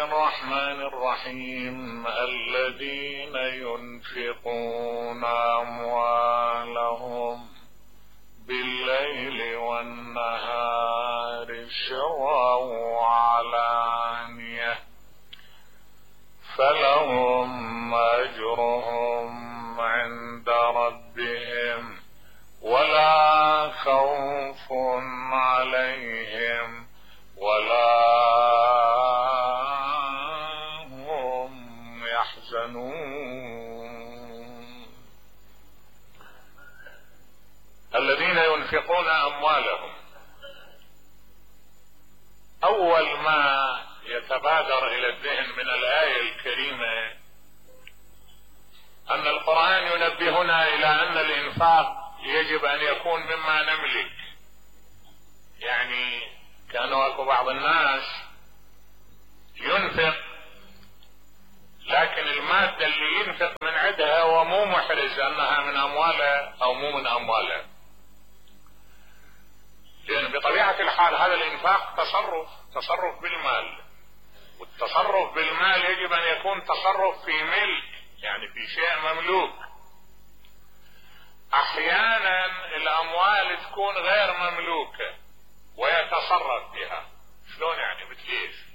الرحمن الرحيم الذين ينفقون أموالهم بالليل والنهار سرا وعلانية فلهم أجرهم عند ربهم ولا خوف عليهم ولا هم يحزنون. الذين ينفقون أموالهم، أول ما يتبادر إلى الذهن من الآية الكريمة أن القرآن ينبهنا إلى أن الإنفاق يجب أن يكون مما نملك. يعني كانوا أكو بعض الناس ينفق لكن المادة اللي ينفق من عندها هو مو محرز أنها من أمواله أو مو من أمواله، لأن بطبيعة الحال هذا الإنفاق تصرف بالمال، والتصرف بالمال يجب أن يكون تصرف في ملك، يعني في شيء مملوك. أحيانا الأموال تكون غير مملوكة ويتصرف بها. شلون يعني؟ بكيف؟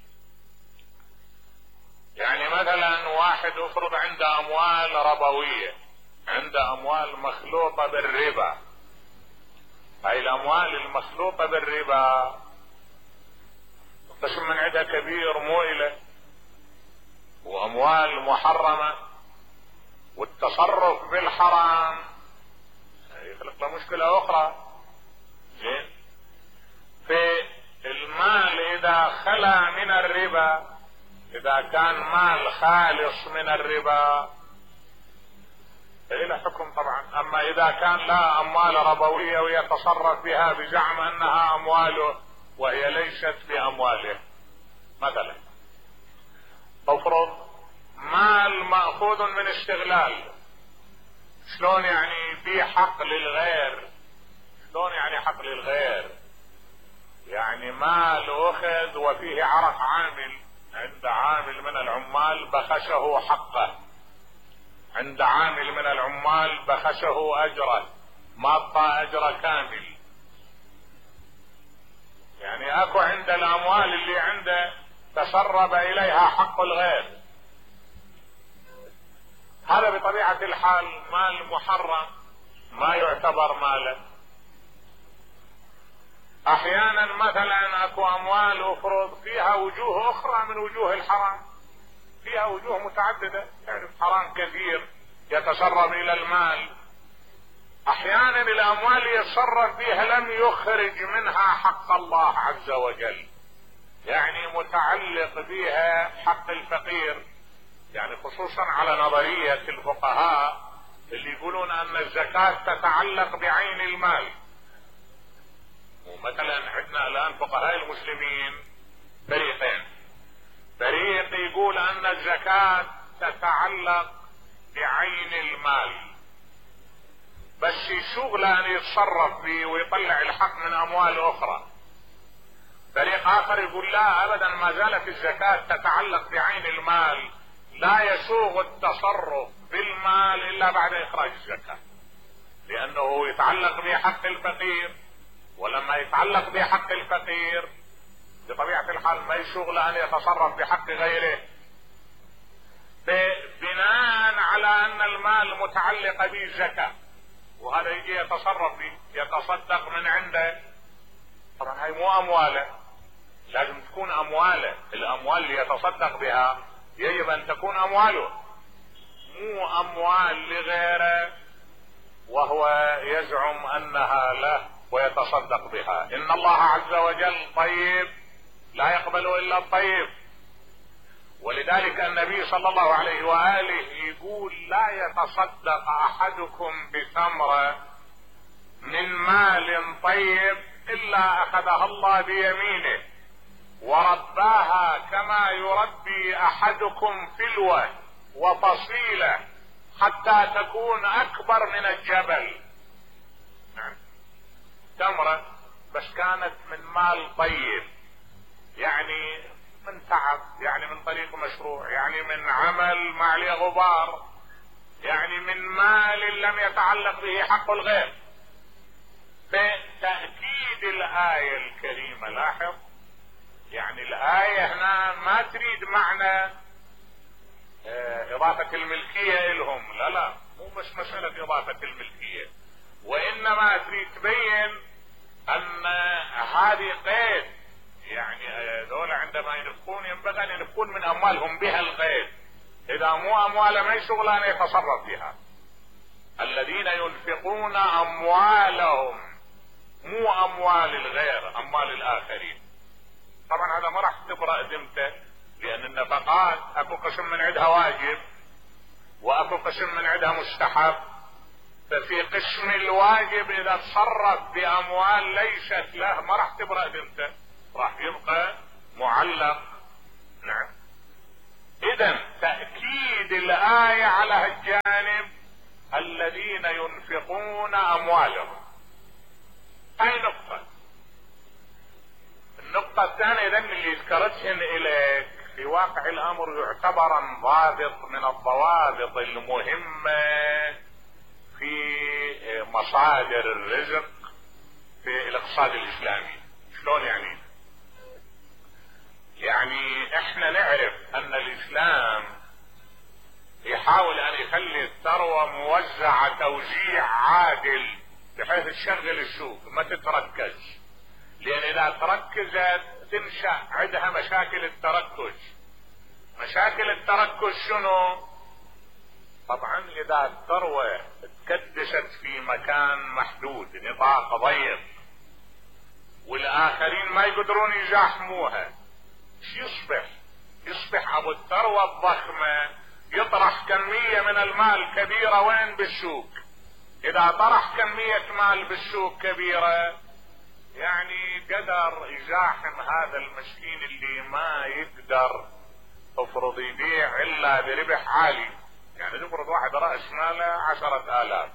يعني مثلا واحد افرض عنده أموال ربوية، عنده أموال مخلوطة بالربا. هاي الأموال المخلوطة بالربا قسم من عندها كبير مو إله، وأموال محرمة، والتصرف بالحرام يخلق له مشكلة أخرى. زين، في المال إذا خلا من الربا، إذا كان مال خالص من الربا له حكم طبعا. أما إذا كان لا أموال ربوية ويتصرف بها بزعم أنها أمواله وهي ليست بأمواله، مثلا تفرض مال مأخوذ من استغلال. شلون يعني في حق للغير؟ شلون يعني حق للغير؟ يعني مال أخذ وفيه عرق عامل، عند عامل من العمال بخسه حقه، عند عامل من العمال بخسه أجره، ما أعطى أجره كامل. يعني أكو عند الأموال اللي عنده تسرب إليها حق الغير، هذا بطبيعة الحال مال محرم ما يعتبر مالا. احيانا مثلا اكو اموال افرض فيها وجوه اخرى من وجوه الحرام، فيها وجوه متعددة، يعني حرام كثير يتسرب الى المال. احيانا الاموال يتصرف بها لم يخرج منها حق الله عز وجل، يعني متعلق بها حق الفقير. يعني خصوصا على نظرية الفقهاء اللي يقولون ان الزكاة تتعلق بعين المال. ومثلا عندنا الان فقهاء المسلمين فريقين، فريق يقول ان الزكاة تتعلق بعين المال بس شغله ان يتصرف به ويطلع الحق من اموال اخرى. فريق اخر يقول لا ابدا، ما زالت الزكاة تتعلق بعين المال، لا يسوغ التصرف بالمال الا بعد اخراج الزكاة، لانه يتعلق بحق الفقير، ولما يتعلق بحق الفقير بطبيعة الحال ما يسوغ له ان يتصرف بحق غيره. بناء على ان المال متعلق به الزكاة، وهذا يجي يتصرف به يتصدق من عنده، طبعا هاي مو امواله، لازم تكون امواله. الاموال اللي يتصدق بها يجب ان تكون امواله، مو اموال لغيره وهو يزعم انها له ويتصدق بها. ان الله عز وجل طيب لا يقبل الا الطيب، ولذلك النبي صلى الله عليه وآله يقول لا يتصدق احدكم بثمرة من مال طيب الا اخذها الله بيمينه ورباها كما يربي احدكم فلوة وفصيلة حتى تكون اكبر من الجبل. تمرة بس كانت من مال طيب، يعني من تعب، يعني يعني من طريق مشروع، يعني من عمل ما عليه غبار، يعني من مال لم يتعلق به حق الغير. فتأكيد الآية الكريمة، لاحظ يعني الآية هنا ما تريد معنى إضافة الملكية إلهم، لا مو بس مسألة إضافة الملكية، وإنما تريد تبين أن هذه قيد، يعني دول عندما ينفقون ينبغي أن ينفقون من أموالهم بها القيد، إذا مو أموال ما يشغل أن يتصرف بها. الذين ينفقون أموالهم، مو أموال الغير، أموال الآخرين. طبعا هذا ما راح تبرأ ذمته، لأن النفقات أكو قسم من عندها واجب وأكو قسم من عندها مستحب. ففي قسم الواجب إذا تصرف بأموال ليست له ما راح تبرأ ذمته، راح يبقى معلق. نعم. إذن تأكيد الآية على الجانب الذين ينفقون أموالهم. هاي نقطة. النقطة الثانية إذن اللي ذكرتهن إليك في واقع الأمر يعتبر ضابط من الضوابط المهمة في مصادر الرزق في الاقتصاد الإسلامي. شلون يعني؟ يعني احنا نعرف ان الاسلام يحاول ان يخلي الثروة موزعة توزيع عادل بحيث تشغل السوق ما تتركز، لان اذا تركزت تنشأ عندها مشاكل التركز. مشاكل التركز شنو؟ طبعا اذا الثروة تكدست في مكان محدود، نطاق ضيق، والاخرين ما يقدرون يزاحموها، يصبح ابو الثروة الضخمة يطرح كمية من المال كبيرة وين؟ بالسوق. اذا طرح كمية مال بالسوق كبيرة يعني قدر يزاحم هذا المسكين اللي ما يقدر افرض يبيع الا بربح عالي. يعني تفرض واحد رأس ماله 10,000،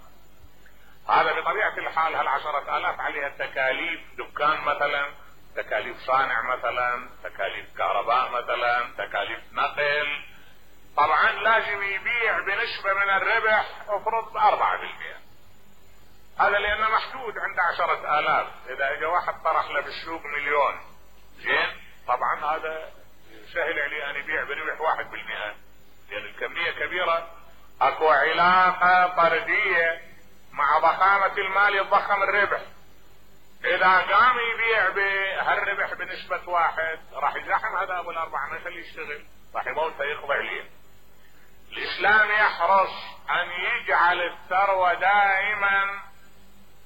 هذا بطبيعة الحال هال10,000 عليها تكاليف دكان مثلا، تكاليف صانع مثلا، تكاليف كهرباء مثلا، تكاليف نقل. طبعا لازم يبيع بنسبة من الربح افرض 4%. هذا لانه محدود عند 10,000. اذا اجى واحد طرح له بالسوق 1,000,000 زين، طبعا هذا سهل عليه ان يبيع بربح 1%، لان الكمية كبيرة. اكو علاقة طردية مع ضخامة المال يتضخم الربح. اذا قام يبيع بهالربح بنسبة 1 راح يزاحم هذا ابو 4، ما يخليه يشتغل، راح يموت يقضي عليه. الاسلام يحرص ان يجعل الثروة دائما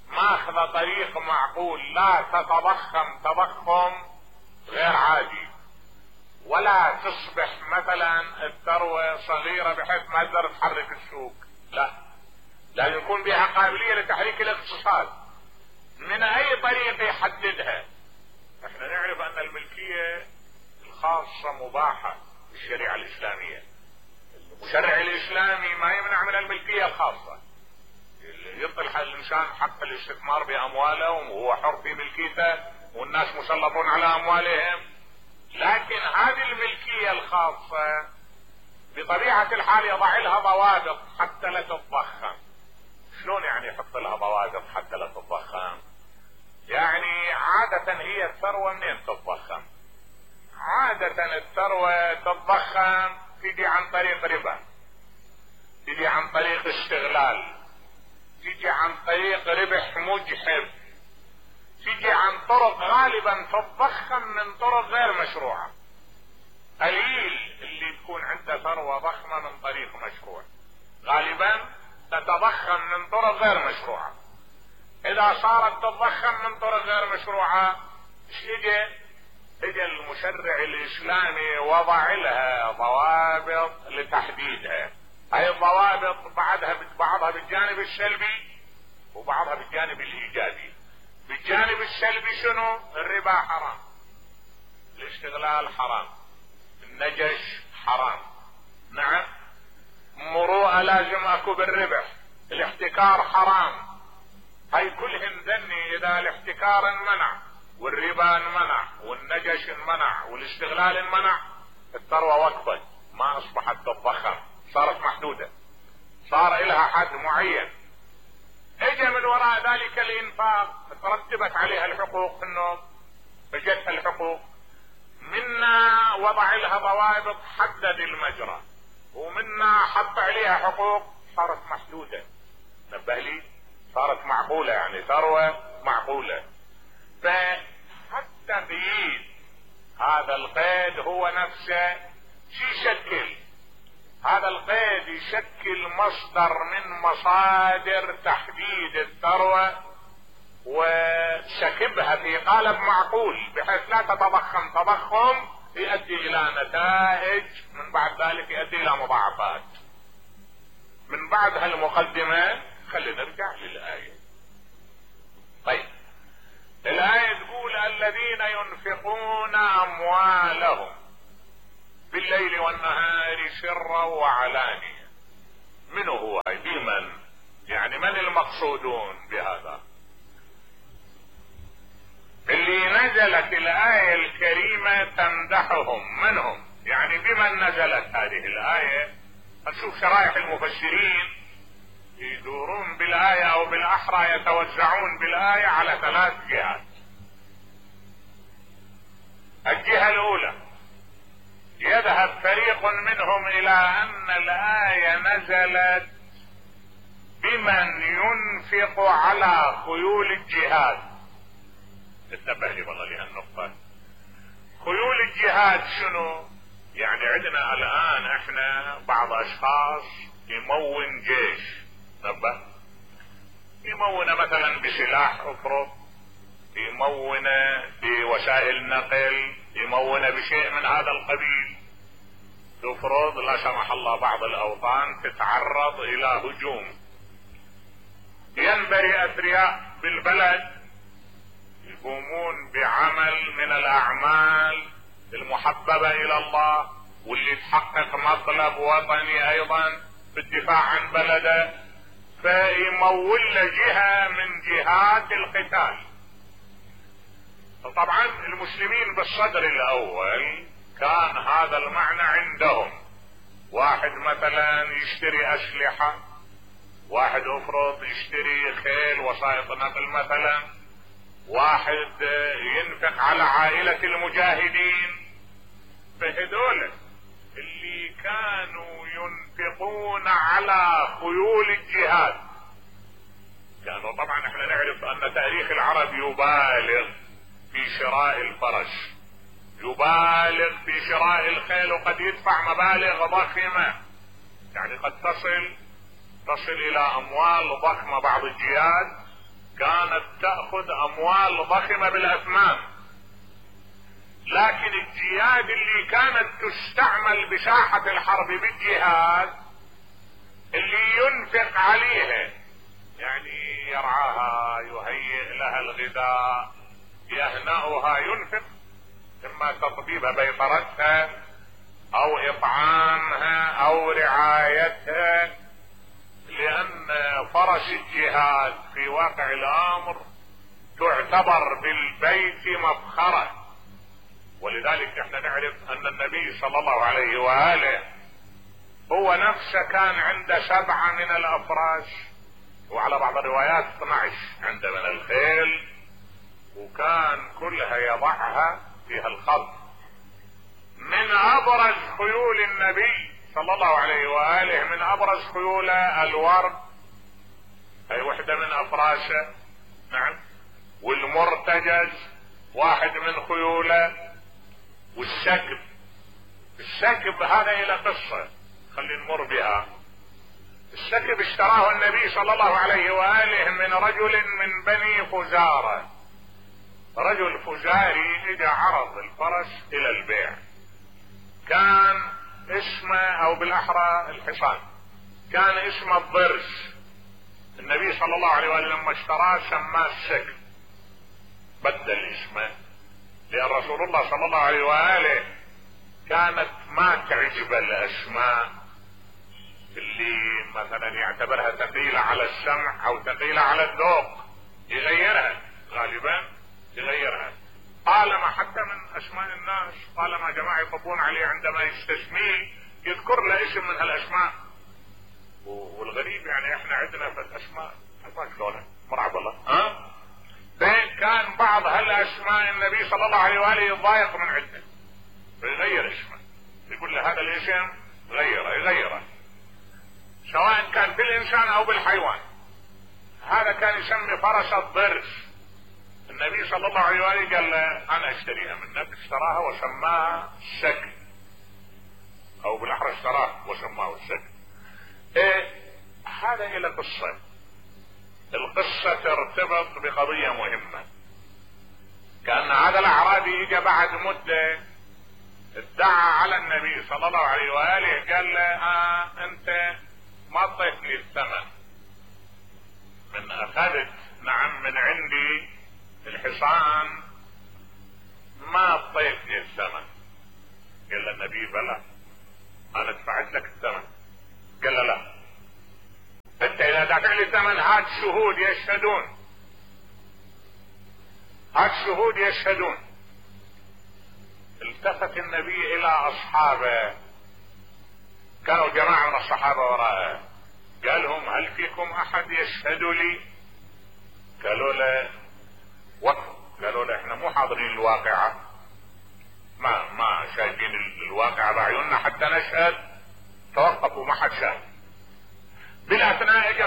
ماخذ طريق معقول، لا تتضخم تضخم غير عادي، ولا تصبح مثلا الثروة صغيرة بحيث ما تقدر تحرك السوق، لا، لازم يكون بها قابلية لتحريك الاقتصاد. من اي طريقة يحددها؟ احنا نعرف ان الملكية الخاصة مباحة بالشريعة الاسلامية. المشرع الاسلامي ما يمنع من الملكية الخاصة، يطلع الانسان حق الاستثمار بامواله وهو حر في ملكيته والناس مسلطون على اموالهم. لكن هذه الملكية الخاصة بطبيعة الحال يضع لها ضوابط حتى لا تتضخم. شلون يعني يحط لها ضوابط حتى لا تتضخم؟ يعني عادة هي الثروة منين تتضخم؟ عادة الثروة تتضخم تجي عن طريق ربا، تجي عن طريق استغلال، تجي عن طريق ربح مجحف، تجي عن طرق غالبا تتضخم من طرق غير مشروعة. قليل اللي تكون عنده ثروة ضخمة من طريق مشروع، غالبا تتضخم من طرق غير مشروعة. اذا صارت تتضخم من طرق غير مشروعة اجى المشرع الاسلامي وضع لها ضوابط لتحديدها. هاي الضوابط بعضها بالجانب السلبي وبعضها بالجانب الايجابي. بالجانب السلبي شنو؟ الربا حرام، الاستغلال حرام، النجش حرام، نعم، مروءة لازم اكو بالربح، الاحتكار حرام. هاي كلهن ذني اذا الاحتكار انمنع والربا انمنع والنجش انمنع والاستغلال انمنع الثروة وقفت، ما اصبحت تتضخم، صارت محدودة، صار لها حد معين. اجى من وراء ذلك الانفاق ترتبت عليها الحقوق، انه اجتها الحقوق، منا وضع لها ضوابط حدد المجرى، ومنا حط عليها حقوق صارت محدودة. نبه لي، صارت معقولة، يعني ثروة معقولة. فحتى قيد هذا القيد هو نفسه شي يشكل، هذا القيد يشكل مصدر من مصادر تحديد الثروة وسكبها في قالب معقول بحيث لا تتضخم تضخم يؤدي الى نتائج من بعد ذلك يؤدي الى مضاعفات. من بعد هالمقدمة خلينا نرجع للآية. طيب، الآية تقول الذين ينفقون أموالهم بالليل والنهار سرا وعلانية. من هو؟ بمن؟ يعني من المقصودون بهذا؟ اللي نزلت الآية الكريمة تمدحهم، من هم؟ يعني بمن نزلت هذه الآية؟ نشوف شرائح المفسرين يدورون بالآية او بالاحرى يتوزعون بالآية على 3 جهات. الجهة الاولى يذهب فريق منهم الى ان الآية نزلت بمن ينفق على خيول الجهاد. انتبه لي والله لهالنقطة. خيول الجهاد شنو؟ يعني عندنا الان احنا بعض اشخاص يمون جيش، نبه، يمونه مثلا بسلاح افرض، يمونه بوسائل نقل، يمونه بشيء من هذا القبيل. تفرض لا سمح الله بعض الاوطان تتعرض الى هجوم، ينبري اثرياء بالبلد يقومون بعمل من الاعمال المحببة الى الله واللي تحقق مطلب وطني ايضا بالدفاع عن بلده، فيمول جهة من جهات القتال. طبعا المسلمين بالصدر الاول كان هذا المعنى عندهم. واحد مثلا يشتري اسلحة، واحد افرض يشتري خيل وسائط نقل مثلا، واحد ينفق على عائلة المجاهدين. فهذول اللي كانوا ينفقون على خيول الجهاد كانوا، طبعا احنا نعرف ان تاريخ العرب يبالغ في شراء الفرس، يبالغ في شراء الخيل، وقد يدفع مبالغ ضخمة، يعني قد تصل الى اموال ضخمة. بعض الجهاد كانت تأخذ اموال ضخمة بالاثمان. لكن الجهاد اللي كانت تستعمل بساحة الحرب بالجهاد اللي ينفق عليها، يعني يرعاها، يهيئ لها الغذاء، يهنأها، ينفق، اما تطبيبها بيطرتها او اطعامها او رعايتها، لان فرس الجهاد في واقع الامر تعتبر بالبيت مفخرة. ولذلك احنا نعرف ان النبي صلى الله عليه وآله هو نفسه كان عنده 7 من الافراس، وعلى بعض الروايات 12 عنده من الخيل، وكان كلها يضعها فيها الخط. من ابرز خيول النبي صلى الله عليه وآله، من ابرز خيوله الورد، هي وحدة من افراسه، نعم، والمرتجز واحد من خيوله، والسكب. السكب هذا الى قصة خلينا نمر بها. السكب اشتراه النبي صلى الله عليه وآله من رجل من بني فزارة. رجل فزاري اجى عرض الفرس الى البيع، كان اسمه او بالاحرى الحصان، كان اسمه الضرس. النبي صلى الله عليه وآله لما اشتراه سماه السكب، بدل اسمه، لأن رسول الله صلى الله عليه وآله كانت ما تعجب الاسماء اللي مثلا يعتبرها ثقيلة على السمع او ثقيلة على الذوق، يغيرها غالبا، يغيرها. طالما حتى من اسماء الناس، طالما جماعة يطبون عليه عندما يستسميه يذكر له اسم من هالاسماء. والغريب يعني احنا عندنا في الاسماء شلونه مرعب الله كان بعض هالاسماء النبي صلى الله عليه واله يضايق من عنده يغير اسمه، يقول له هذا الاسم يغيره سواء كان بالانسان او بالحيوان. هذا كان يسمي فرس الضرس. النبي صلى الله عليه واله قال له انا اشتريها منك، اشتراها وسماها السك، او بالاحرى اشتراه وسماه السك. هذا الى قصة. القصة ترتبط بقضية مهمة. كان هذا الاعرابي اجى بعد مدة ادعى على النبي صلى الله عليه واله، قال له انت ما اعطيتني الثمن من اخذت نعم من عندي الحصان، ما اعطيتني الثمن. قال له النبي بلى انا دفعت لك الثمن. قال له لا، انت اذا دافع لي الثمن هات شهود يشهدون، هات شهود يشهدون. التفت النبي الى اصحابه، كانوا جماعة من الصحابة وراءه، قال لهم هل فيكم احد يشهد لي؟ قالوا له قالوا له احنا مو حاضرين الواقعة، ما شايفين الواقعة بعيوننا حتى نشهد. توقفوا ما حد شاهد. بالاثناء اجى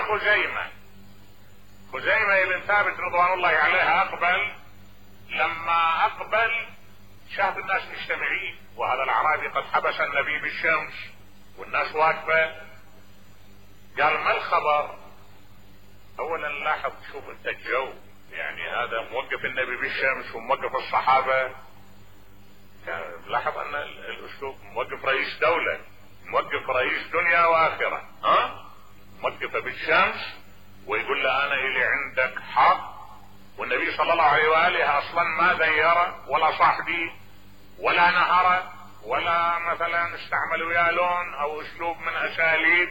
خزيمة بن ثابت رضوان الله عليه اقبل. لما اقبل شاهد الناس مجتمعين، وهذا الاعرابي قد حبس النبي بالشمس والناس واقفة. قال ما الخبر؟ اولا لاحظ، شوف انت الجو، يعني هذا موقف النبي بالشمس وموقف الصحابة. لاحظ ان الاسلوب موقف رئيس دولة، موقف رئيس دنيا واخرة، موقفه بالشمس ويقول له انا الي عندك حق. والنبي صلى الله عليه واله اصلا ما ذيره ولا صاحبي ولا نهره ولا مثلا استعمل وياه لون او اسلوب من اساليب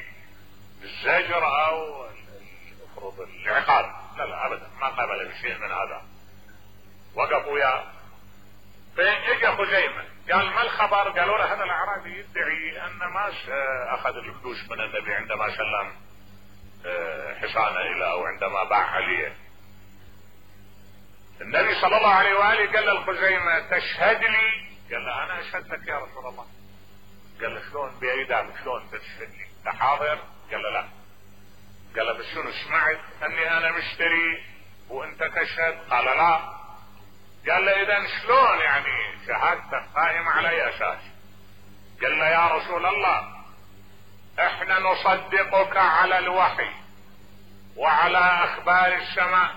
الزجر او المفروض العقاب، لا ابدا، ما قابل بشيء من هذا. وقفوا وياه. فاجى خزيمة قال ما الخبر؟ قالوا له هذا الاعرابي يدعي ان ما اخذ الفلوس من النبي عندما سلم حصانه الى او عندما باع عليه. النبي صلى الله عليه واله قال للخزيمة تشهد لي؟ قال له انا اشهد لك يا رسول الله. قال له شلون بايدك شلون تشهد لي؟ انت حاضر؟ قال له لا. قال له بس شنو سمعت اني انا مشتري وانت تشهد؟ قال لا. قال له اذا شلون يعني شهادتك قائمة على اي اساس؟ قال له يا رسول الله احنا نصدقك على الوحي وعلى اخبار السماء،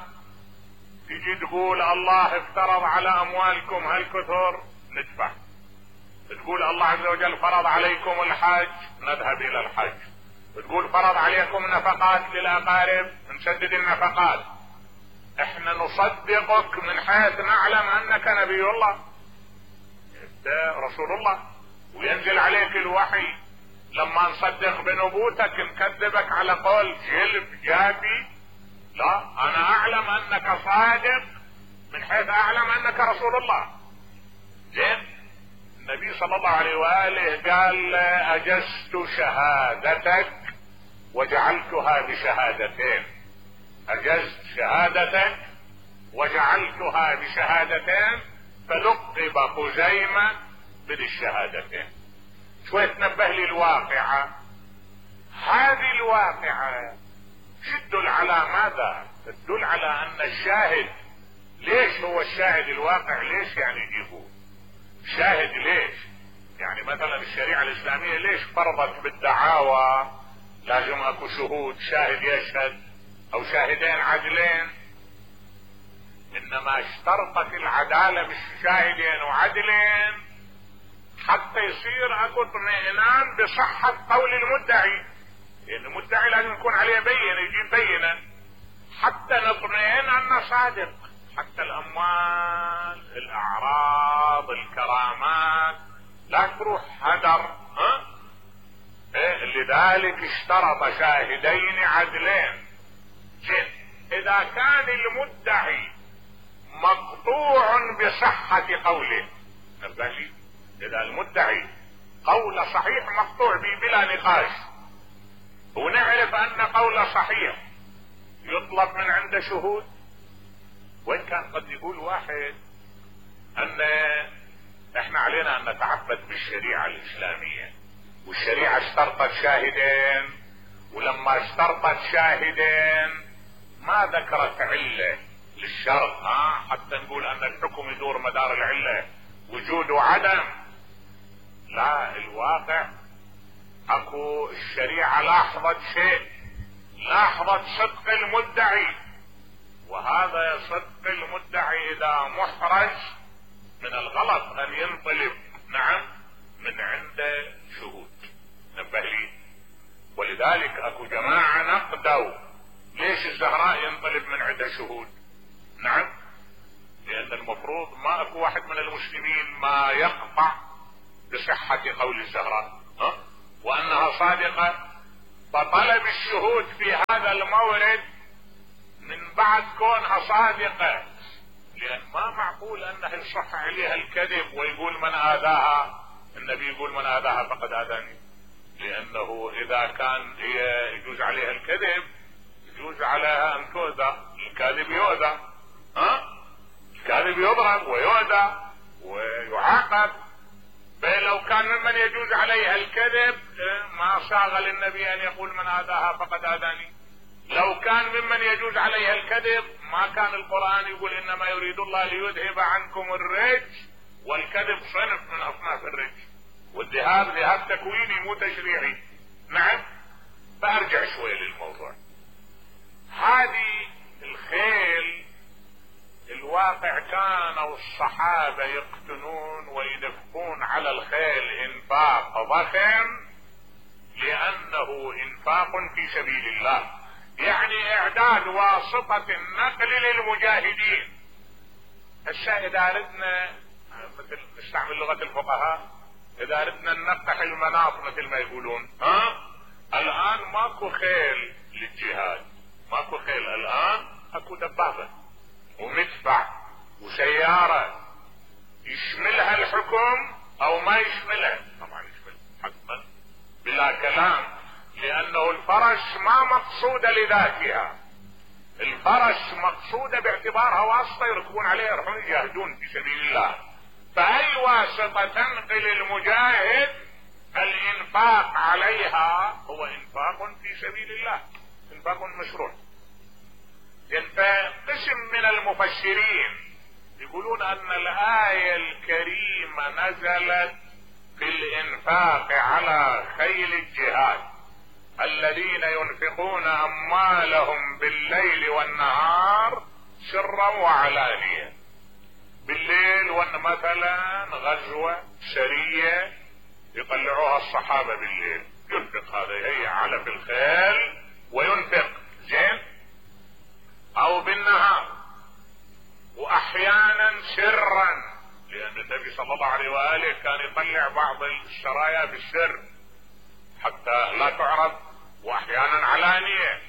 تجي تقول الله افترض على اموالكم هالكثر ندفع، تقول الله عز وجل فرض عليكم الحج نذهب الى الحج، تقول فرض عليكم نفقات للاقارب نسدد النفقات. احنا نصدقك من حيث نعلم انك نبي الله انت رسول الله وينزل عليك الوحي. لما نصدق بنبوتك نكذبك على قول جلب جابي؟ لا، انا اعلم انك صادق من حيث اعلم انك رسول الله. زين. النبي صلى الله عليه واله قال اجزت شهادتك وجعلتها بشهادتين، اجزت شهادتك وجعلتها بشهادتين، فلقب خزيمة بذي الشهادتين. شوي تنبه لي الواقعة. هذه الواقعة تدل على ماذا؟ تدل على ان الشاهد، ليش هو الشاهد الواقع؟ ليش يعني يجيبوه شاهد؟ ليش يعني مثلا الشريعة الاسلامية ليش فرضت بالدعاوى لازم اكو شهود، شاهد يشهد او شاهدين عدلين؟ انما اشترطت العدالة بالشاهدين وعدلين حتى يصير اكو اطمئنان بصحة قول المدعي. يعني المدعي لازم يكون عليه بينة، يجيب بينة حتى نطمئن انه صادق. حتى الاموال، الاعراض، الكرامات لا تروح هدر. لذلك اشترط شاهدين عدلين. اذا كان المدعي مقطوع بصحة قوله. نبهي اذا المدعي قول صحيح مقطوع به بلا نقاش، ونعرف ان قول صحيح يطلب من عنده شهود، وان كان قد يقول واحد ان احنا علينا ان نتعبد بالشريعة الاسلامية، والشريعة اشترطت شاهدين، ولما اشترطت شاهدين ما ذكرت علة للشرط حتى نقول ان الحكم يدور مدار العلة وجود وعدم. لا، الواقع اكو الشريعة لاحظت شيء، لاحظت صدق المدعي، وهذا صدق المدعي اذا محرج من الغلط ان ينطلب من عنده شهود. نبه لي. ولذلك اكو جماعة نقدوا ليش الزهراء ينطلب من عنده شهود؟ لان المفروض ما اكو واحد من المسلمين ما يقطع بصحة قول الزهراء وانها صادقة، فطلب الشهود في هذا المورد من بعد كونها صادقة، لان ما معقول انه يصح عليها الكذب ويقول من اذاها، النبي يقول من اذاها فقد اذاني، لانه اذا كان هي يجوز عليها الكذب يجوز عليها ان تؤذى، الكاذب يؤذى، الكاذب يضرب ويؤذى ويعاقب. فلو كان ممن يجوز عليها الكذب ما صاغ للنبي ان يقول من اذاها فقد اذاني. لو كان ممن يجوز عليها الكذب ما كان القرآن يقول انما يريد الله ليذهب عنكم الرجس، والكذب صنف من اصناف الرجس، والذهاب ذهاب تكويني مو تشريعي. فارجع شوي للموضوع. هذه الخيل الواقع كانوا الصحابة يقتنون وينفقون على الخيل انفاق ضخم، لانه انفاق في سبيل الله، يعني اعداد واسطة النقل للمجاهدين. هسه اذا ردنا مثل نستعمل لغة الفقهاء، اذا ردنا ننقح المناط مثل ما يقولون، الان ماكو خيل للجهاد، ماكو خيل، الان اكو دبابة ومدفع وسيارة يشملها الحكم او ما يشملها، طبعا يشمل حتما بلا كلام، لانه الفرس ما مقصودة لذاتها، الفرس مقصودة باعتبارها واسطة يركبون عليها يروحون يجاهدون في سبيل الله. فاي واسطة تنقل المجاهد الانفاق عليها هو انفاق في سبيل الله، انفاق مشروع. فقسم من المفسرين يقولون ان الآية الكريمة نزلت في الانفاق على خيل الجهاد، الذين ينفقون اموالهم بالليل والنهار سرا وعلانية. بالليل مثلا غزوة سرية يطلعوها الصحابة بالليل، ينفق هذا، هي علف الخيل وينفق زين، او بالنهار، واحيانا سرا، لان النبي صلى الله عليه وآله كان يطلع بعض السرايا بالسر حتى لا تعرف، واحيانا علانية.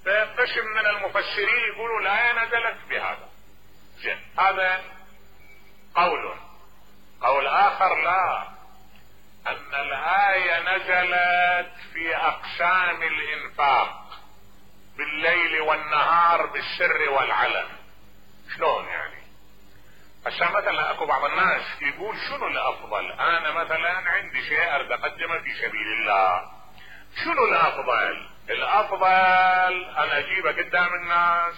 فقسم من المفسرين يقولوا الآية نزلت بهذا زين، هذا قول اخر لا، ان الآية نزلت في اقسام الانفاق بالليل والنهار بالسر والعلن. شلون يعني؟ عشان مثلا اكو بعض الناس يقول شنو الافضل، انا مثلا عندي شيء اريد اقدمه في سبيل الله، شنو الافضل؟ الافضل انا اجيبه قدام الناس؟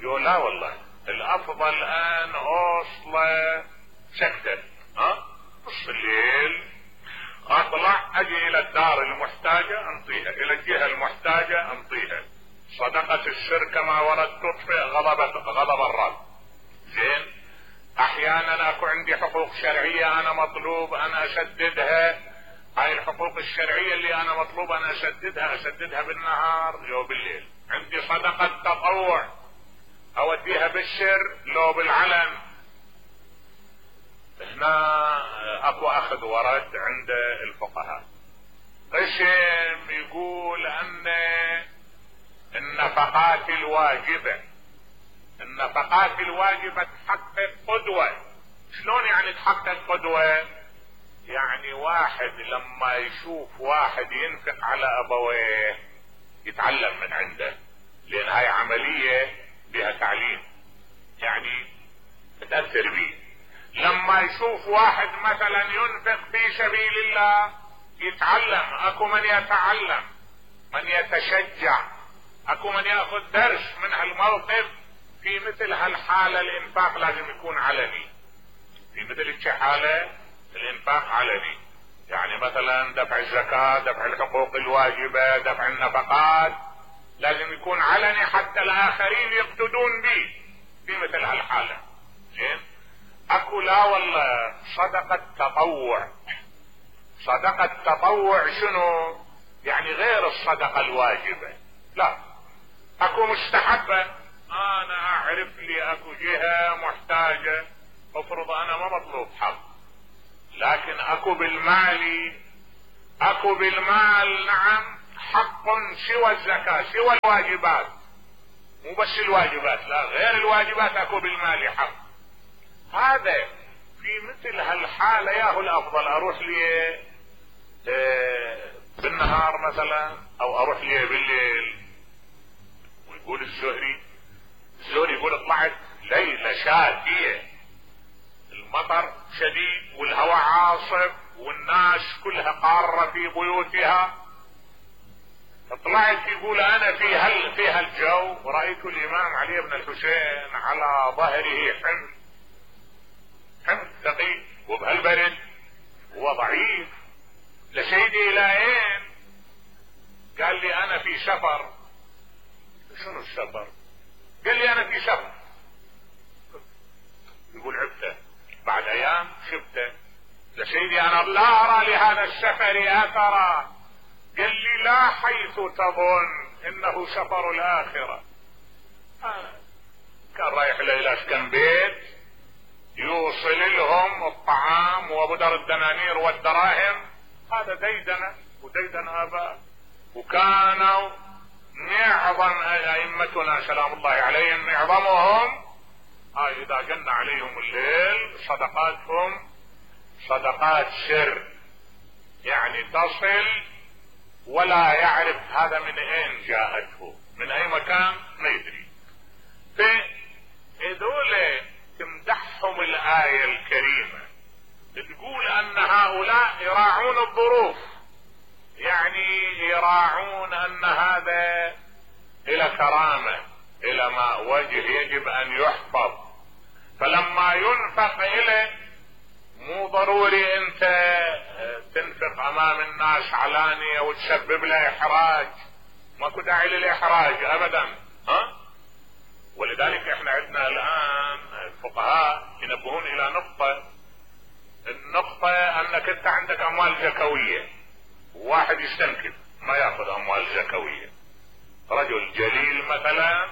يقول لا والله الافضل ان اوصله سكتة، نص الليل اطلع اجي الى الدار المحتاجة انطيها، الى الجهة المحتاجة انطيها. صدقة السر كما ورد تطفئ غضب الرب. زين، احيانا اكو عندي حقوق شرعية انا مطلوب ان اسددها، هاي الحقوق الشرعية اللي انا مطلوب ان اسددها بالنهار لو بالليل. عندي صدقة تطوع اوديها بالسر لو بالعلن. هنا اكو اخذ ورد عند الفقهاء. قسم يقول ان النفقات الواجبة النفقات الواجبة تحقق قدوة. شلون يعني تحقق قدوة؟ يعني واحد لما يشوف واحد ينفق على ابويه يتعلم من عنده، لان هاي عملية بها تعليم، يعني تأثر بيه. لما يشوف واحد مثلا ينفق في سبيل الله يتعلم، اكو من يتعلم، من يتشجع، اكو من ياخذ درس من هالموقف. في مثل هالحالة الانفاق لازم يكون علني، في مثل الحالة الانفاق علني، يعني مثلا دفع الزكاة، دفع الحقوق الواجبة، دفع النفقات لازم يكون علني حتى الاخرين يقتدون به في مثل هالحالة. زين؟ اكو لا والله صدقة تطوع. صدقة تطوع شنو؟ يعني غير الصدقة الواجبة. لا، اكو مستحبة. انا اعرف لي اكو جهة محتاجة، افرض انا ما مطلوب حق، لكن اكو بالمال نعم حق سوى الزكاة، سوى الواجبات، مو بس الواجبات، لا غير الواجبات اكو بالمال حق. هذا في مثل هالحالة ياهو الافضل اروح لي بالنهار مثلا او اروح لي بالليل. ويقول الزهري يقول طلعت ليلة شاتية، المطر شديد والهواء عاصف والناس كلها قارة في بيوتها، طلعت يقول انا في هالجو ورأيت الامام علي بن الحسين على ظهره حمل ثقيل وبهالبرد هو ضعيف، لسيدي الى اين؟ قال لي انا في سفر. شنو السفر؟ قال لي انا في سفر. يقول عبته بعد ايام شفته، لسيدي انا لا ارى لهذا السفر اثرا. قال لي لا حيث تظن انه سفر الاخرة. كان رايح الى اسكن بيت يوصل لهم الطعام وبدر الدنانير والدراهم، هذا ديدن اباء. وكانوا معظم ائمتنا سلام الله عليهم معظمهم اذا جن عليهم الليل صدقاتهم صدقات سر، يعني تصل ولا يعرف هذا من اين جاءته، من اي مكان ما يدري. فهذول تمدحهم الآية الكريمة، تقول ان هؤلاء يراعون الظروف، يعني يراعون ان هذا الى كرامة، الى ما وجه يجب ان يحفظ. فلما ينفق اليه مو ضروري انت تنفق امام الناس علانية وتسبب له احراج، ماكو داعي للاحراج ابدا. ولذلك احنا عندنا الان الفقهاء ينبهون الى النقطة انك انت عندك اموال زكوية، واحد يستنكف ما ياخذ اموال زكوية، رجل جليل مثلا،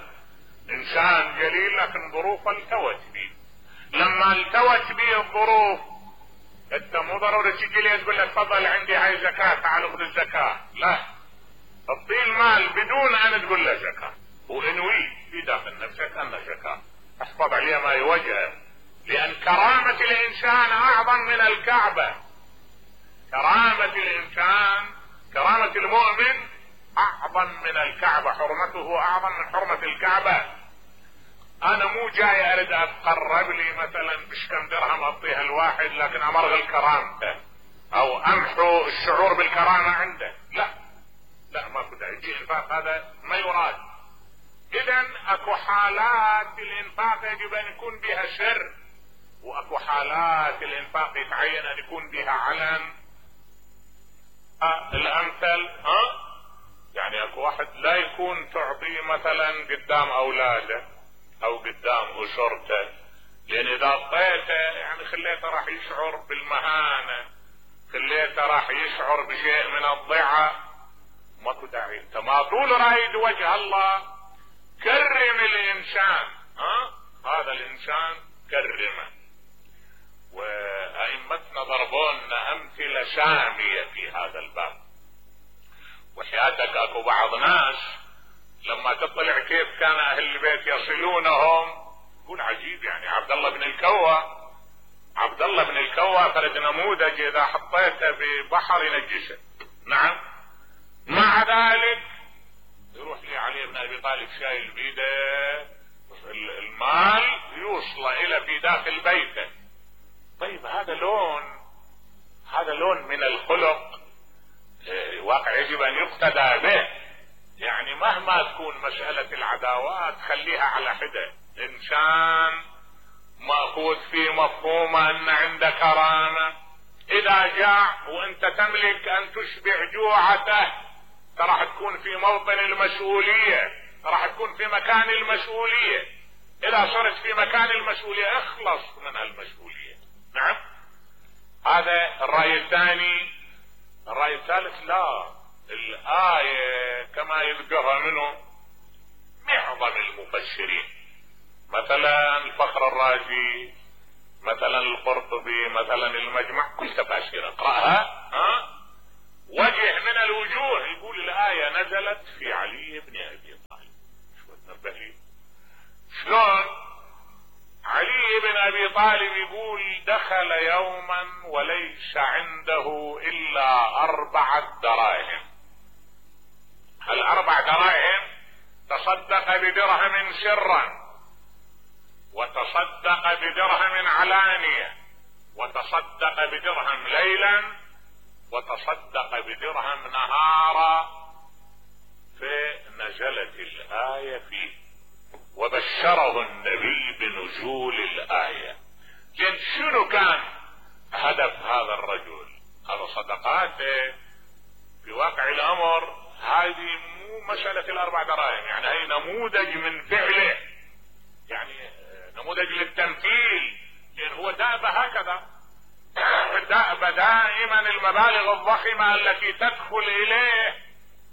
انسان جليل لكن ظروفه التوت به، لما التوت به الظروف انت مو ضروري تجي لي تقول له تفضل عندي هاي زكاة تعال خذ الزكاة، لا، تعطيه المال بدون ان تقول له زكاة، وانوي في داخل نفسك انه زكاة، احفظ عليه ما يوجهه، لان كرامة الانسان اعظم من الكعبة. كرامة الانسان، كرامة المؤمن اعظم من الكعبة، حرمته اعظم من حرمة الكعبة. انا مو جاي اريد اتقرب لي مثلا بكم درهم اعطيها الواحد لكن امرغل كرامته او امحو الشعور بالكرامة عنده، لا ماكو داعي، يجي انفاق هذا ما يراد. اذا اكو حالات الانفاق يجب ان يكون بها سر، واكو حالات الانفاق يتعين ان يكون بها علن. الامثل يعني اكو واحد لا يكون تعطيه مثلا قدام اولاده او قدام اسرته، لان اذا اعطيته يعني خليته راح يشعر بالمهانة، خليته راح يشعر بشيء من الضعة، ماكو داعي. انت ما طول رايد وجه الله كرم الانسان، هذا الانسان كرمه. وائمتنا ضربونا امثلة سامية في هذا الباب. وحياتك اكو بعض ناس لما تطلع كيف كان اهل البيت يصلونهم، يقول عجيب يعني. عبد الله بن الكوى فرد نموذج اذا حطيته ببحر ينجسه. نعم. مع ذلك يروح لي علي بن ابي طالب شايل بيده المال يوصل الى في داخل بيته. طيب هذا لون من الخلق واقع يجب ان يقتدى به. يعني مهما تكون مسألة العداوات خليها على حدة. انسان مأخوذ في مفهومه ان عنده كرامة، اذا جاع وانت تملك ان تشبع جوعته راح تكون في موطن المسؤولية، راح تكون في مكان المسؤولية. اذا صرت في مكان المسؤولية اخلص من المسؤولية. نعم. هذا الرأي الثاني. الرأي الثالث لا، الآية كما يذكرها منه معظم المفسرين، مثلا الفخر الرازي، مثلا القرطبي، مثلا المجمع، كل تفاسير اقرأها وجه من الوجوه يقول الآية نزلت في علي بن ابي طالب. شو تنبه لي شلون علي بن ابي طالب يقول دخل يوما وليس عنده الا 4 دراهم. ال4 دراهم تصدق بدرهم سرا، وتصدق بدرهم علانية، وتصدق بدرهم ليلا، وتصدق بدرهم نهارا. فنزلت الآية فيه وبشره النبي بنزول الآية. لأن شنو كان هدف هذا الرجل؟ هذا صدقاته في واقع الأمر هذه مو مسألة 4 دراهم، يعني هي نموذج من فعله، يعني نموذج للتمثيل. لأن هو دأب هكذا، دأب دائما المبالغ الضخمة التي تدخل إليه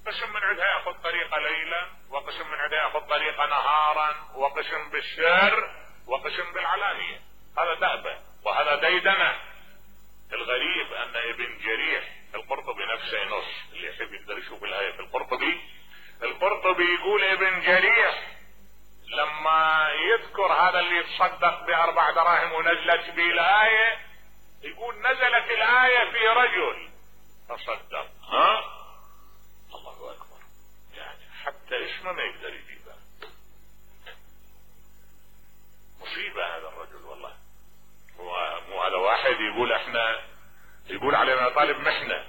قسم من عندها يأخذ طريقة ليلا، وقسم من عندها يأخذ طريقة نهارا، وقسم بالسر، وقسم بالعلانية. هذا دأبه وهذا ديدنه. الغريب أن ابن جريح القرطبي نفسه نص، اللي يحب يقدر يشوف الآية في القرطبي يقول ابن جريح لما يذكر هذا اللي يتصدق ب4 دراهم ونزلت به الآية، يقول نزلت الآية في رجل تصدق. الله أكبر. يعني حتى اسمه ما يقدر يجيبه. مصيبة هذا الرجل والله. هو مو هذا واحد يقول علينا طالب محنة،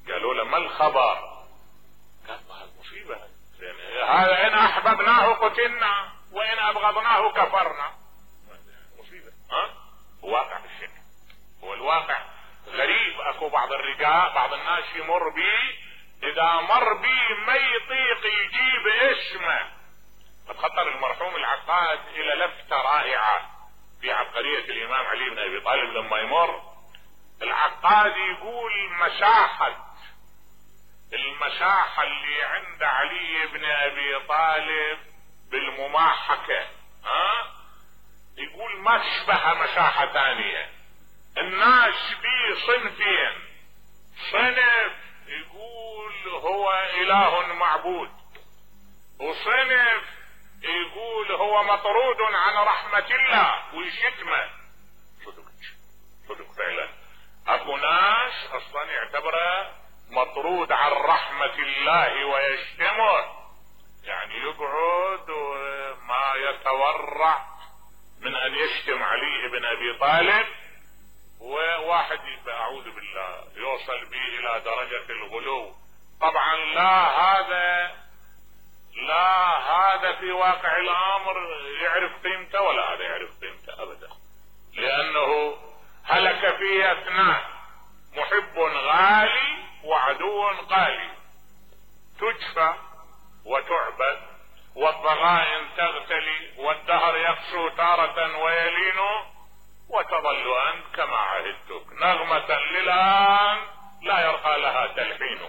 قالوا له ما الخبر؟ قال هذا مصيبة. هذا إن أحببناه قتلنا وإن أبغضناه كفرنا. مصيبة. واقع بالشكل. هو الواقع غريب. اكو بعض الرجال بعض الناس يمر بي، اذا مر بي ما يطيق يجيب اسمه. قد خطر المرحوم العقاد الى لفتة رائعة في عبقرية الامام علي بن ابي طالب. لما يمر العقاد يقول المساحة اللي عند علي بن ابي طالب بالمماحكة يقول ما تشبه مساحة ثانية. الناس بيه صنفين، صنف يقول هو اله معبود، وصنف يقول هو مطرود عن رحمة الله ويشتمه. صدق فعلا. اكو ناس اصلا يعتبره مطرود عن رحمة الله ويشتمه، يعني يقعد وما يتورع من ان يشتم علي بن ابي طالب. وواحد اعوذ بالله يوصل به الى درجة الغلو. طبعا لا هذا في واقع الامر يعرف قيمته، ولا هذا يعرف قيمته ابدا. لانه هلك فيه 2، محب غالي وعدو قالي، تجفى وتعبد، والضغائن تغتلي، والدهر يقسو تارة ويلين، وتظل أنت كما عهدتك نغمة للآن لا يرقى لها تلحين.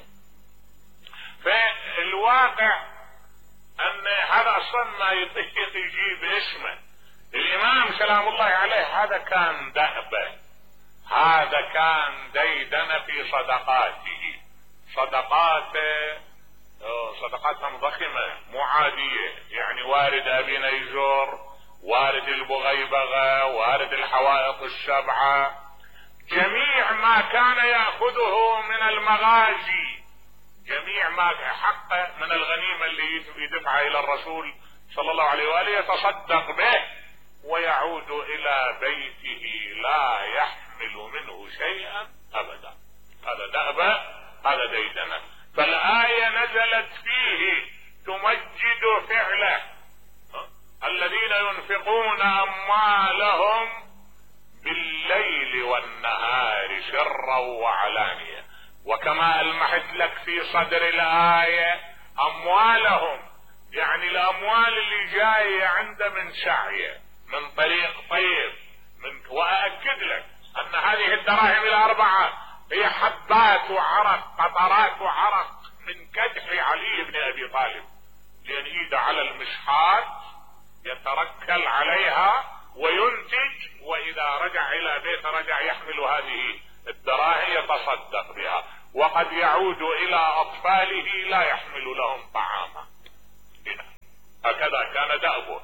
فالواقع أن هذا أصلا ما يطيق يجيب اسمه. الإمام سلام الله عليه هذا كان دأبه، هذا كان ديدن في صدقاته صدقاتهم ضخمة مو عادية، يعني وارد ابي نيزور، وارد البغيبغة، وارد الحوائط السبعة، جميع ما كان يأخذه من المغازي، جميع ما حقه من الغنيمة اللي يدفعها الى الرسول صلى الله عليه وآله يتصدق به ويعود الى بيته لا يحمل منه شيئا ابدا. هذا دأبة، هذا ديدنة. فالآية نزلت فيه تمجد فعله، الذين ينفقون أموالهم بالليل والنهار سرا وعلانية. وكما ألمحت لك في صدر الآية أموالهم، يعني الأموال اللي جاية عنده من سعيه من طريق طيب وأأكد لك أن هذه الدراهم الأربعة هي حبات وعرق، قطرات وعرق من كدح علي بن أبي طالب، لأن إيده على المشحات يتركل عليها وينتج، وإذا رجع إلى بيته رجع يحمل هذه الدراهم يتصدق بها، وقد يعود إلى أطفاله لا يحمل لهم طعاما. هكذا كان دأبه.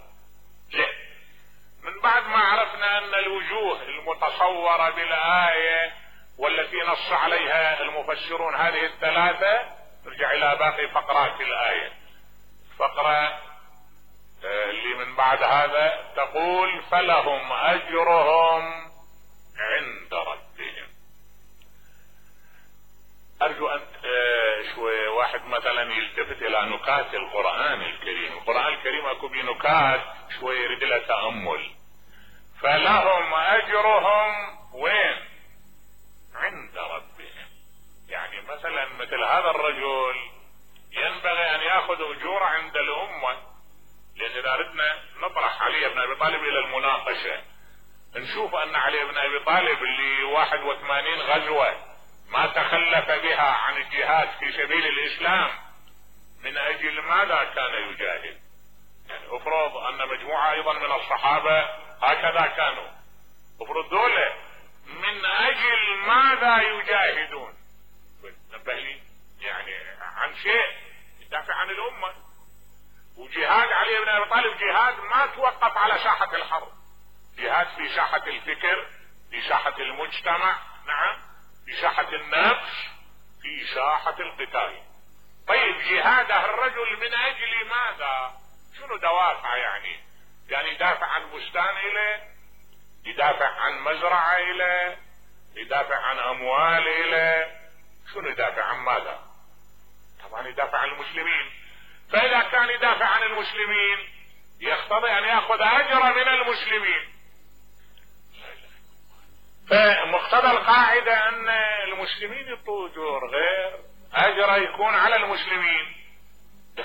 من بعد ما عرفنا أن الوجوه المتصورة بالآية والتي نص عليها المفسرون هذه الثلاثة، نرجع إلى باقي فقرات الآية. فقرة اللي من بعد هذا تقول فلهم أجرهم عند ربهم. أرجو أن شوي واحد مثلا يلتفت إلى نكات القرآن الكريم. القرآن الكريم أكو بنكات شوي يريد لها تأمل. فلهم أجرهم وين؟ عند ربهم. يعني مثلا مثل هذا الرجل ينبغي أن يأخذ أجور عند الأمة، لأن إذا أردنا نطرح علي بن أبي طالب إلى المناقشة نشوف أن علي بن أبي طالب اللي 81 غزوة ما تخلف بها عن الجهاد في سبيل الإسلام، من أجل ماذا كان يجاهد؟ يعني أفرض أن مجموعة أيضا من الصحابة هكذا كانوا، أفرض دولة من أجل ماذا يجاهدون؟ نبه لي يعني عن شيء يدافع عن الأمة. وجهاد علي بن أبي طالب جهاد ما توقف على ساحة الحرب، جهاد في ساحة الفكر، في ساحة المجتمع، نعم، في ساحة النفس، في ساحة القتال. طيب جهاده الرجل من أجل ماذا؟ شنو دوافع؟ يعني يدافع عن بستان إليه، يدافع عن مزرعة إليه، يدافع عن أموال إليه، شنو يدافع عن ماذا؟ طبعا يدافع عن المسلمين. فإذا كان يدافع عن المسلمين يقتضي أن يأخذ أجر من المسلمين. فمقتضى القاعدة أن المسلمين يعطوا أجور، غير أجر يكون على المسلمين.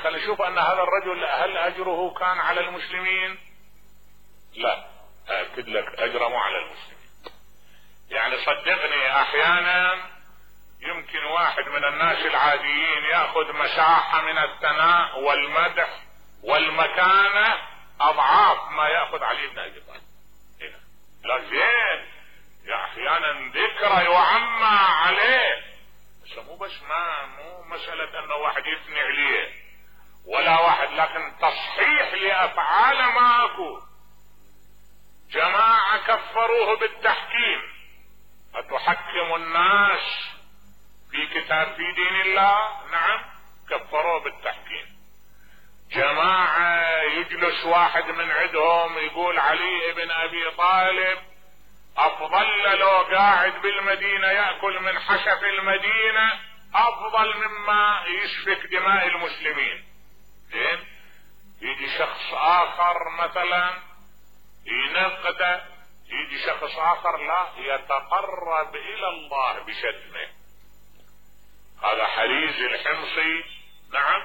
خلينا نشوف أن هذا الرجل هل أجره كان على المسلمين؟ لا، أكد لك أجره مو على المسلمين. يعني صدقني أحيانا يمكن واحد من الناس العاديين يأخذ مساحة من الثناء والمدح والمكانة أضعاف ما يأخذ علي بن أبي طالب. لا زين، احيانا ذكرى يعمى عليه، بس مو مسألة انه واحد يثني عليه ولا واحد، لكن تصحيح لافعال ما اكو. جماعة كفروه بالتحكيم، اتحكم الناس في دين الله؟ نعم، كفروه بالتحكيم. جماعة يجلس واحد من عندهم يقول علي بن ابي طالب افضل لو قاعد بالمدينة يأكل من حشف المدينة افضل مما يسفك دماء المسلمين. زين، يجي شخص اخر مثلا ينقده، يجي شخص اخر لا يتقرب الى الله بشتمه. هذا حريز الحمصي، نعم،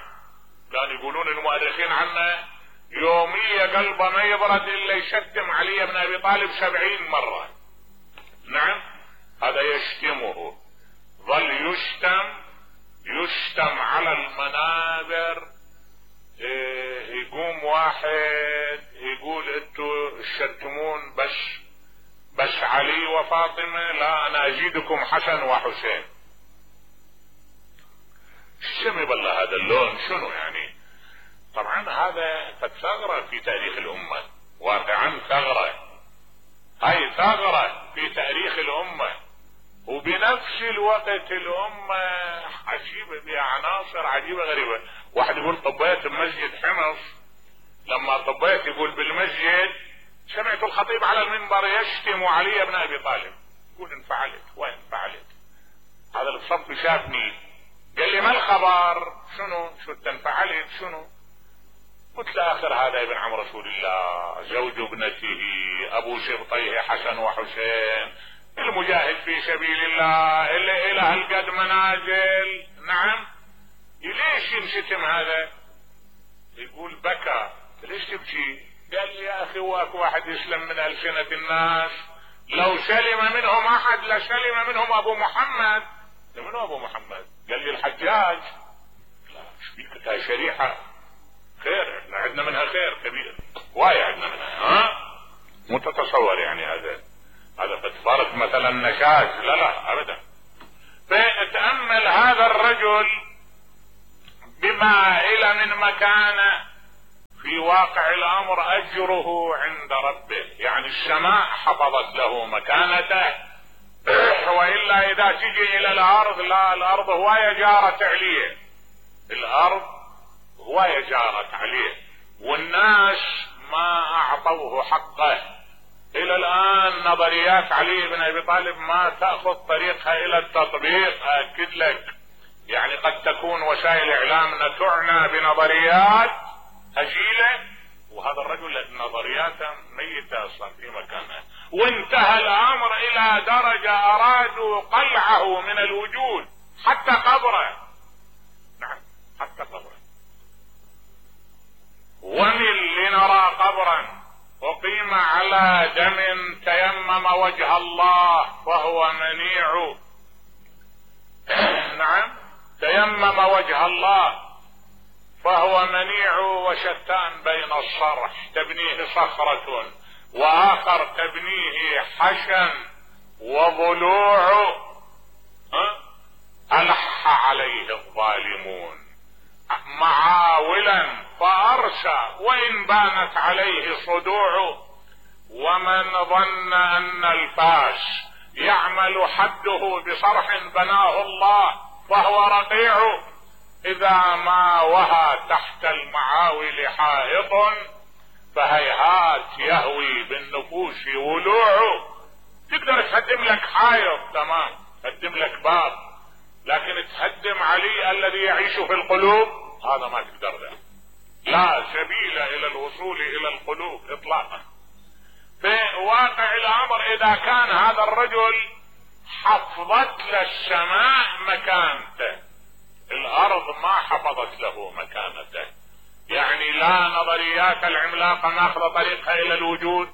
كانوا يقولون المؤرخين عنه يومية قلبه ما يبرد الا يشتم علي بن ابي طالب 70 مرة. نعم، هذا يشتمه، ظل يشتم على المنابر. يقوم واحد يقول انتوا تشتمون بس علي وفاطمة، لا انا ازيدكم حسن وحسين. سمي بالله هذا اللون شنو يعني؟ طبعا هذا قد ثغرة في تاريخ الامة، واقعا ثغرة، هاي ثغرة في تاريخ الامة، وبنفس الوقت الامة عجيبة بها عناصر عجيبة غريبة. واحد يقول طبيت بمسجد حمص، لما طبيت يقول بالمسجد سمعت الخطيب على المنبر يشتم علي بن ابي طالب، يقول انفعلت وين فعلت، هذا الصف شافني قال لي ما الخبر شنو شو انفعلت شنو؟ قلت له اخر هذا ابن عم رسول الله، زوج ابنته، ابو شبطيه حسن وحسين، المجاهد في سبيل الله اللي الى هالقد منازل. نعم، ليش ينشتم هذا؟ يقول بكى. ليش تبكي؟ قال لي يا اخي واكو واحد يسلم من السنة الناس، لو سلم منهم احد لسلم منهم ابو محمد. منو ابو محمد؟ قال لي الحجاج. لا شبيك هاي شريحة خير، احنا عندنا منها خير كبير، واي عندنا منها، ها مو تتصور يعني هذا قد فرق مثلا نشاز، لا ابدا. فتأمل هذا الرجل بما الى من مكانه، في واقع الامر اجره عند ربه، يعني السماء حفظت له مكانته، والا اذا تجي الى الارض، لا الارض هواية جارت عليه، الارض هواية جارت عليه، والناس ما اعطوه حقه. الى الان نظريات علي بن ابي طالب ما تأخذ طريقها الى التطبيق، اكد لك. يعني قد تكون وسائل اعلامنا تعنى بنظريات هجيلة، وهذا الرجل نظرياته ميتة اصلا في مكانها، وانتهى الامر الى درجة ارادوا قلعه من الوجود، حتى قبره. نعم حتى قبره. ومن لنرى قبرا اقيم على دم تيمم وجه الله فهو منيع. نعم، تيمم وجه الله فهو منيع، وشتان بين الصرح تبنيه صخرة واخر تبنيه حشا وضلوع، ألح عليه الظالمون معاولا فأرسى وإن بانت عليه صدوع. ومن ظن أن الفاس يعمل حده بصرح بناه الله فهو رقيع، إذا ما وهى تحت المعاول حائط فهيهات يهوي بالنفوس ولوع. تقدر تهدم لك حائط تمام، تهدم لك باب، لكن تهدم علي الذي يعيش في القلوب هذا ما تقدر له، لا سبيل الى الوصول الى القلوب اطلاقا. في واقع الامر اذا كان هذا الرجل حفظت للسماء مكانته، الارض ما حفظت له مكانته، يعني لا نظريات العملاقة ماخذ طريقها الى الوجود،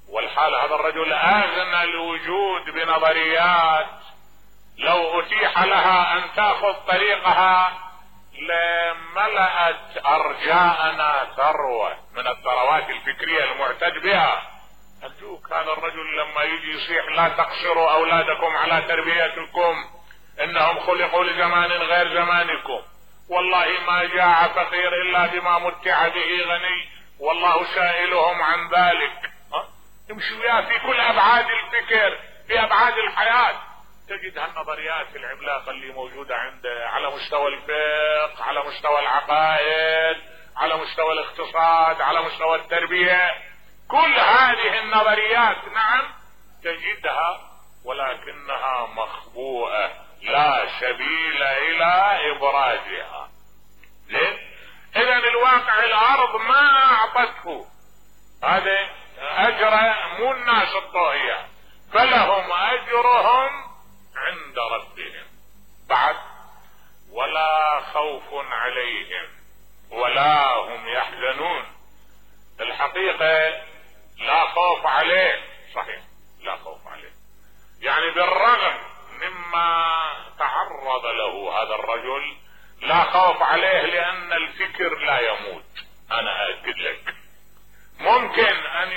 والحال هذا الرجل اغنى الوجود بنظريات لو اتيح لها ان تاخذ طريقها لملأت ارجاءنا ثروة من الثروات الفكرية المعتد بها. ارجوك هذا الرجل لما يجي يصيح لا تقصروا اولادكم على تربيتكم انهم خلقوا لزمان غير زمانكم، والله ما جاع فقير الا بما متع به غني والله سائلهم عن ذلك. يمشي وياه في كل ابعاد الفكر، في ابعاد الحياة، تجد هالنظريات العملاقة اللي موجودة عنده على مستوى الفقه، على مستوى العقائد، على مستوى الاقتصاد، على مستوى التربية، كل هذه النظريات نعم تجدها ولكنها مخبوءة لا سبيل الى ابرازها. ليه؟ اذا الواقع الارض ما اعطته هذا اجر، مو الناس الطاغية، فلهم اجرهم عند ربهم. بعد ولا خوف عليهم ولا هم يحزنون. الحقيقة لا خوف عليه، صحيح لا خوف عليه، يعني بالرغم مما تعرض له هذا الرجل لا خوف عليه، لان الفكر لا يموت. انا اكد لك ممكن ان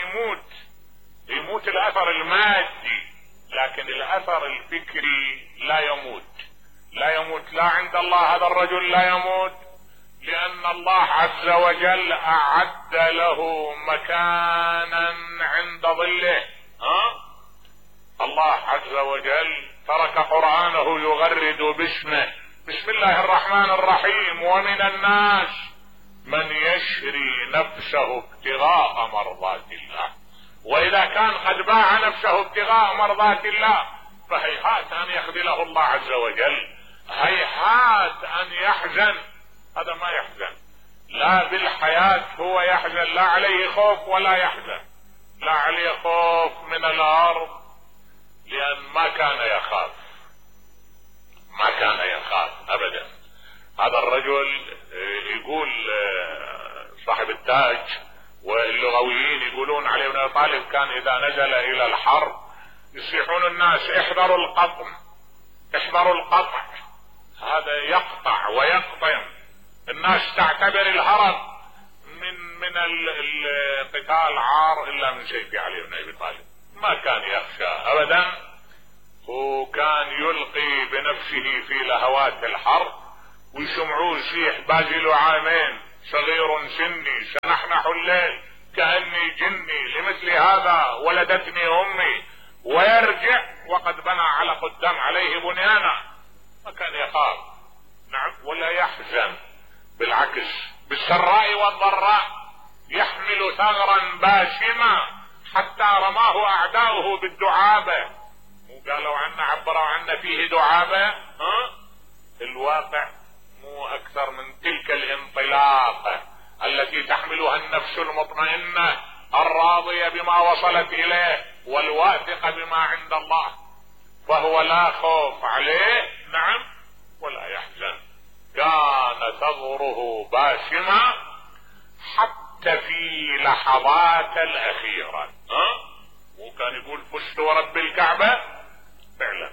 يموت الاثر المادي، لكن الاثر الفكري لا يموت، لا يموت قلت لا، عند الله هذا الرجل لا يموت، لأن الله عز وجل أعد له مكانا عند ظله. الله عز وجل ترك قرآنه يغرد باسمه، بسم الله الرحمن الرحيم: ومن الناس من يشري نفسه ابتغاء مرضات الله. وإذا كان قد باع نفسه ابتغاء مرضات الله فهيهات أن يخذله الله عز وجل، هيهات أن يحزن. هذا ما يحزن، لا بالحياة هو يحزن، لا عليه خوف ولا يحزن، لا عليه خوف من الأرض لأن ما كان يخاف، ما كان يخاف أبدا. هذا الرجل يقول صاحب التاج واللغويين يقولون علي بن أبي طالب كان إذا نزل إلى الحرب يصيحون الناس: احذروا القطم، احذروا القطع. هذا يقطع ويقطم. الناس تعتبر الهرب من القتال عار إلا من سيف علي بن أبي طالب. ما كان يخشى أبدا، وكان يلقي بنفسه في لهوات الحرب ويسمعوه يصيح: باذل عامين، صغير سني، سنحنح الليل كأني جني، لمثل هذا ولدتني أمي، ويرجع وقد بنى علق الدم عليه بنيانا. ما كان يخاف، نعم، ولا يحزن، بالعكس بالسراء والضراء يحمل ثغرا باسما حتى رماه أعداؤه بالدعابة. وقالوا عنا، عبروا عنا فيه دعابة. الواقع مو أكثر من تلك الانطلاقة التي تحملها النفس المطمئنة الراضية بما وصلت إليه والواثقة بما عند الله، فهو لا خوف عليه، نعم، ولا يحزن. كان ثغره باسما حتى في لحظات الأخيرة. وكان يقول: فزت ورب الكعبة. فعلا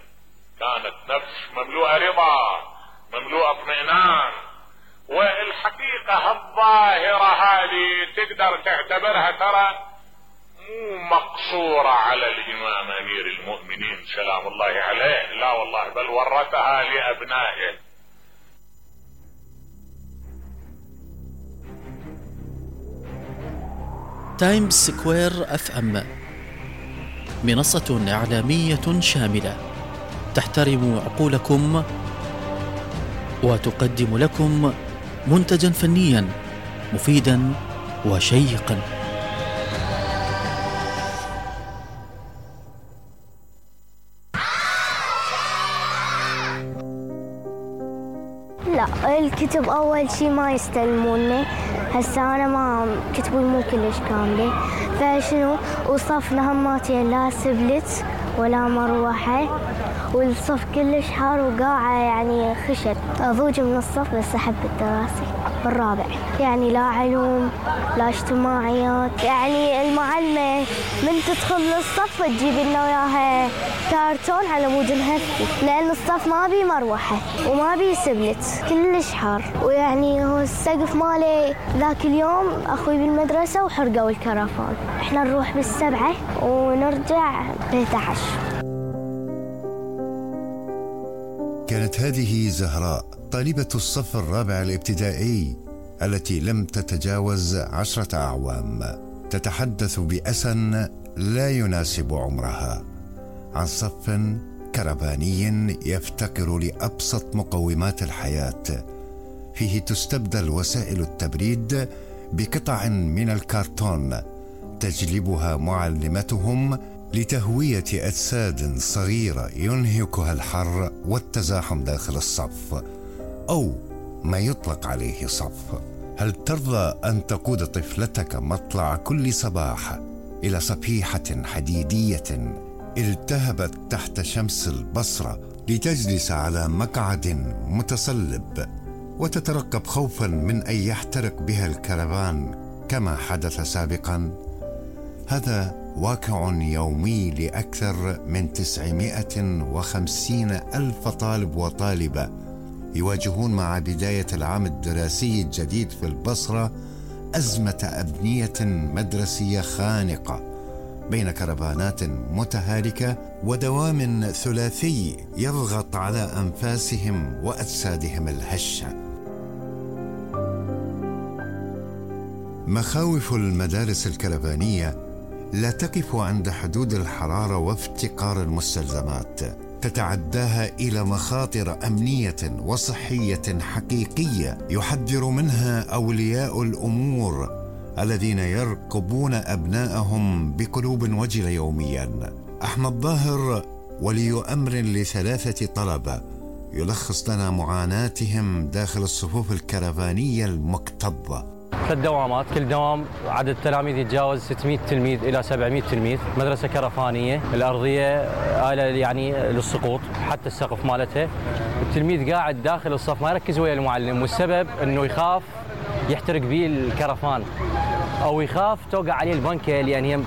كانت نفس مملوءة رضا، مملوءة اطمئنان. والحقيقة الظاهرة هذه تقدر تعتبرها ترى مو مقصورة على الإمام أمير المؤمنين سلام الله عليه، لا والله، بل ورثها لأبنائه. تايمز سكوير FM منصة إعلامية شاملة تحترم عقولكم وتقدم لكم منتجا فنيا مفيدا وشيقا. لا، الكتب أول شي ما يستلموني. هسه أنا ما كتبي مو كلش كاملة، فشنو وصفنا هماتين لا سبلت ولا مروحة، والصف كلش حار وقاعة يعني خشب. أضوج من الصف بس أحب الدراسة بالرابع، يعني لا علوم لا اجتماعيات. يعني المعلمة من تدخل للصف تجيب لنا وياها كارتون على مود نهفي، لأن الصف ما بي مروحة وما بي سبلت، كلش حار. ويعني هو السقف مالي ذاك اليوم أخوي بالمدرسة وحرقوا الكرفان. إحنا نروح بالسبعة ونرجع ب11. كانت هذه زهراء طالبة الصف الرابع الابتدائي التي لم تتجاوز 10 أعوام، تتحدث بأسى لا يناسب عمرها عن صف كرفاني يفتقر لأبسط مقومات الحياة، فيه تستبدل وسائل التبريد بقطع من الكرتون تجلبها معلمتهم لتهوية أجساد صغيرة ينهكها الحر والتزاحم داخل الصف، أو ما يطلق عليه صف. هل ترضى أن تقود طفلتك مطلع كل صباح إلى صفيحة حديدية التهبت تحت شمس البصرة لتجلس على مقعد متصلب وتترقب خوفا من أن يحترق بها الكرفان كما حدث سابقا؟ هذا واقع يومي لأكثر من 950,000 طالب وطالبة يواجهون مع بداية العام الدراسي الجديد في البصرة أزمة أبنية مدرسية خانقة بين كرفانات متهالكة ودوام ثلاثي يضغط على أنفاسهم وأجسادهم الهشة. مخاوف المدارس الكرفانية لا تقف عند حدود الحرارة وافتقار المستلزمات، تتعداها إلى مخاطر أمنية وصحية حقيقية يحذر منها أولياء الأمور الذين يرقبون أبنائهم بقلوب وجلة يوميا. أحمد ظاهر ولي أمر ل3 طلبة يلخص لنا معاناتهم داخل الصفوف الكرفانية المكتظة. 3 دوامات، كل دوام عدد التلاميذ يتجاوز 600 تلميذ إلى 700 تلميذ. مدرسة كرفانية، الأرضية آلة يعني للسقوط، حتى السقف مالتها. التلميذ قاعد داخل الصف ما يركز ويا المعلم، والسبب أنه يخاف يحترق به الكرفان أو يخاف توقع عليه البنكة لأن هي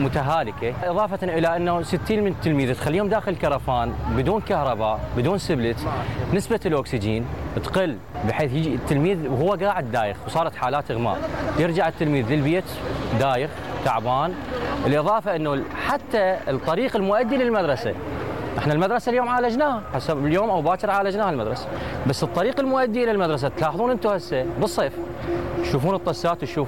متهالكة. إضافة إلى أنه 60 من التلميذ تخليهم داخل الكرفان بدون كهرباء بدون سبلت، نسبة الأكسجين تقل بحيث يجي التلميذ وهو قاعد دايخ، وصارت حالات إغماء. يرجع التلميذ للبيت دايخ تعبان. الإضافة أنه حتى الطريق المؤدي للمدرسة، احنا المدرسة اليوم عالجناها، حسب اليوم أو باكر عالجناها المدرسة، بس الطريق المؤدي إلى المدرسة تلاحظون أنتم هسه بالصيف تشوفون الطسات، تشوفون